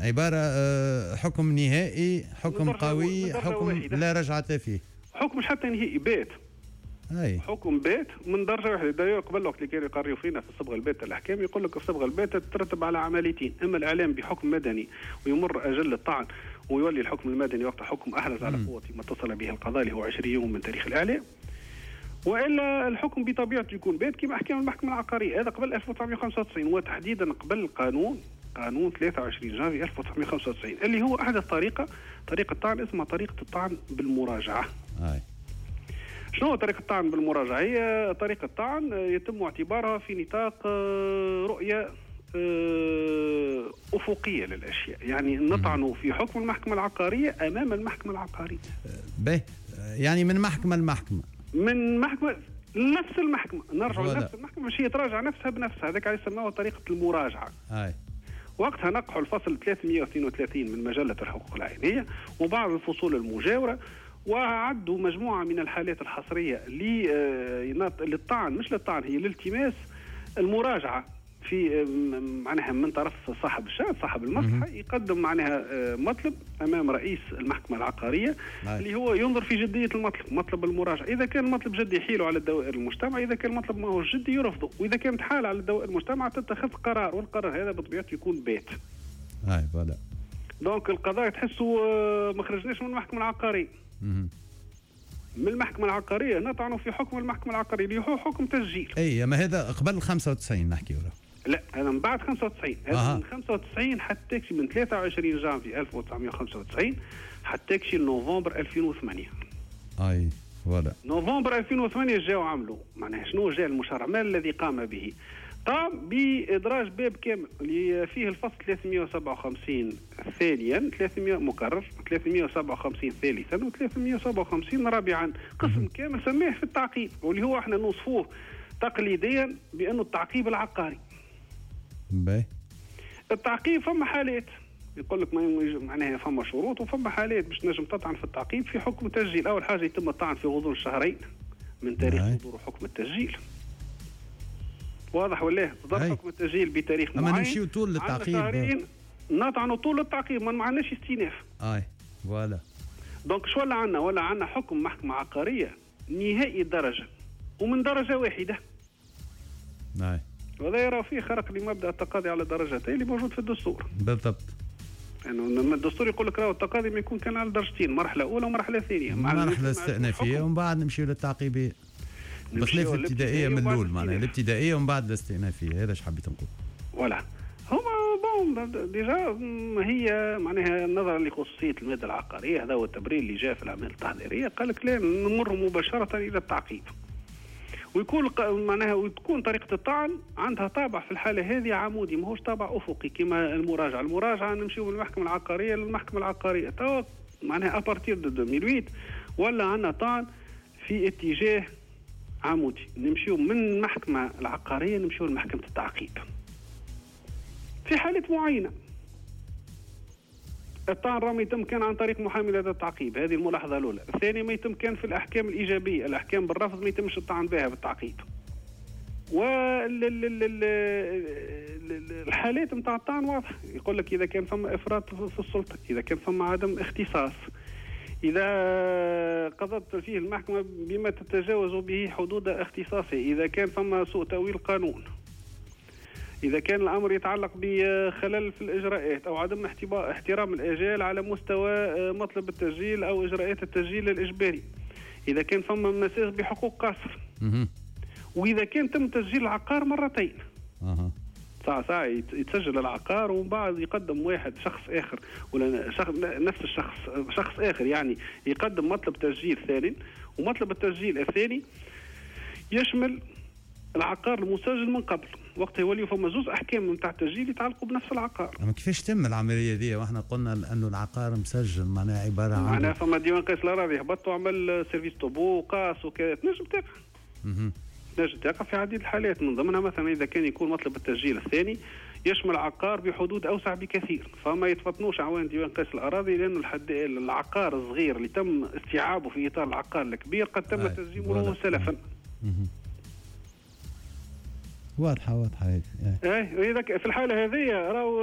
عبارة حكم نهائي، حكم قوي، حكم لا رجعة فيه. حكم مش حتى نهائي، بات. حكم بات من درجه واحده. d'ailleurs قبل وقت اللي كانوا يقريوا فينا في الصبغه الباته الاحكام، يقول لك الصبغه الباته تترتب على عمليتين: اما الاعلام بحكم مدني ويمر اجل الطعن ويولي الحكم المدني وقت حكم احرز على قوة ما اتصل به القضاء، اللي هو 20 يوم من تاريخ الاعلام، والا الحكم بطبيعته يكون بات كما احكام المحكمة العقاريه. هذا قبل 1995، وتحديدا قبل القانون، قانون 23 جانفي 1995، اللي هو احدث طريقه طعن اسمها طريقه الطعن بالمراجعه. شنو طريقة الطعن بالمراجعة؟ هي طريقة طعن يتم اعتبارها في نطاق رؤية أفقية للأشياء، يعني نطعن في حكم المحكمة العقارية أمام المحكمة العقارية. به، يعني من محكمة لمحكمة. من محكمة، نفس المحكمة، نرجع لنفس المحكمة باش هي تراجع نفسها بنفسها. هذاك علاش سموها طريقة المراجعة. وقتها نقحوا الفصل 332 من مجلة الحقوق العينية وبعض الفصول المجاورة، وعدوا مجموعة من الحالات الحصرية للطعن، مش للطعن، هي لالتماس المراجعة في معناها من طرف صاحب الشأن، صاحب المصلحة، يقدم معناها مطلب أمام رئيس المحكمة العقارية اللي هو ينظر في جدية المطلب، مطلب المراجعة. إذا كان المطلب جدي يحيله على الدوائر المجتمع، إذا كان المطلب ما هو جدي يرفضه، وإذا كانت حالة على الدوائر المجتمع تتخذ قرار، والقرار هذا بطبيعته يكون بات. اي voilà. donc القضاء تحسوا ما خرجناش من المحكمة العقارية. من المحكمة العقارية نطعن في حكم المحكمة العقارية اللي هو حكم تسجيل. اي، ما هذا قبل 95 نحكي ولا؟ لا، هذا من بعد 95. هذا من 95 حتى من 23 جانفي 1995 حتى كشي نوفمبر 2008. اي voilà. نوفمبر 2008 جاوا عملوا معناها شنو؟ جاء المشرع، ما الذي قام به؟ قام بإدراج باب كامل اللي فيه الفصل 357 ثانيا، 300 مكرر، 357 ثالثا، و 357 رابعا، قسم كامل سماه في التعقيب، واللي هو احنا نوصفوه تقليديا بأنه التعقيب العقاري. باهي. التعقيب فما حالات، يقول لك ما معناها فما شروط وفما حالات باش تنجم تطعن في التعقيب في حكم تسجيل. اول حاجة يتم الطعن في غضون شهرين من تاريخ صدور حكم التسجيل. واضح ولا؟ صدر حكم التسجيل بتاريخ اما معين، نمشيو طول عندنا للتعقيب. شهرين نطعنوا طول التعقيب، ما معناش استئناف. اي voilà. donc شو ولا عندنا؟ ولا عندنا حكم محكمة عقارية نهائي الدرجة ومن درجه واحده. وهذا يرى فيه خرق لمبدا التقاضي على درجتين اللي موجود في الدستور. يعني الدستور يقول لك راهو التقاضي ما يكون كان على درجتين، مرحلة اولى ومرحلة ثانيه. مع مرحلة استئنافيه ومن بعد نمشيو للتعقيبيه، بخلاف الابتدائية من وبعد الاول معناها الاستئناف. الابتدائية ومن بعد الاستئنافيه، هذا اش حبيت نقول. voilà، هما bon déjà هي معناها نظرا لخصوصيه المادة العقاريه، هذا هو التبرير اللي جاء في الاعمال التحضيريه، قال لك لا، نمر مباشرة الى التعقيب، ويكون معناها وتكون طريقه الطعن عندها طابع في الحالة هذه عمودي، ماهوش طابع افقي كما المراجعه. المراجعة نمشيو من المحكمة العقارية للمحكمة العقاريه. توا معناها à partir de 2008 ولا عندنا طعن في اتجاه عمودي، نمشيو من المحكمة العقارية نمشيو لمحكمة التعقيب في حالات معينة. الطعن راه ما يتم كان عن طريق محامي لدى التعقيب، هذه الملاحظة الأولى. الثانية، ما يتم كان في الأحكام الإيجابية، الأحكام بالرفض ما يتمش الطعن بها بالتعقيب. والحالات نتاع الطعن واضحة، يقول لك إذا كان فما إفراط في السلطة، إذا كان فما عدم اختصاص، إذا قضت فيه المحكمة بما تتجاوز به حدود اختصاصه، إذا كان فما سوء تأويل قانون، إذا كان الأمر يتعلق بخلل في الإجراءات أو عدم احترام الآجال على مستوى مطلب التسجيل أو إجراءات التسجيل الإجباري، إذا كان فما مساس بحقوق قاصر، وإذا كان تم تسجيل العقار مرتين. ساعة ساعة يتسجل العقار ومن بعد يقدم واحد شخص آخر ولا شخص نفس الشخص شخص آخر، يعني يقدم مطلب تسجيل ثاني، ومطلب التسجيل الثاني يشمل العقار المسجل من قبل، وقتها يولي فما زوز احكام نتاع التسجيل يتعلقوا بنفس العقار. اما كيفاش تم العملية دي واحنا قلنا انه العقار مسجل، معناها عبارة عن معناها فما ديوان قيس الاراضي هبط وعمل service topo وقاس وكذا، تنجم تقع. تنجم تقع في عديد الحالات، من ضمنها مثلا اذا كان يكون مطلب التسجيل الثاني يشمل عقار بحدود اوسع بكثير، فما يتفطنوش اعوان ديوان قيس الاراضي لانه الحد العقار الصغير اللي تم استيعابه في اطار العقار الكبير قد تم تسجيله له سلفا. واضحه، واضحة هذه. ايه، اذا في الحالة هذه راهو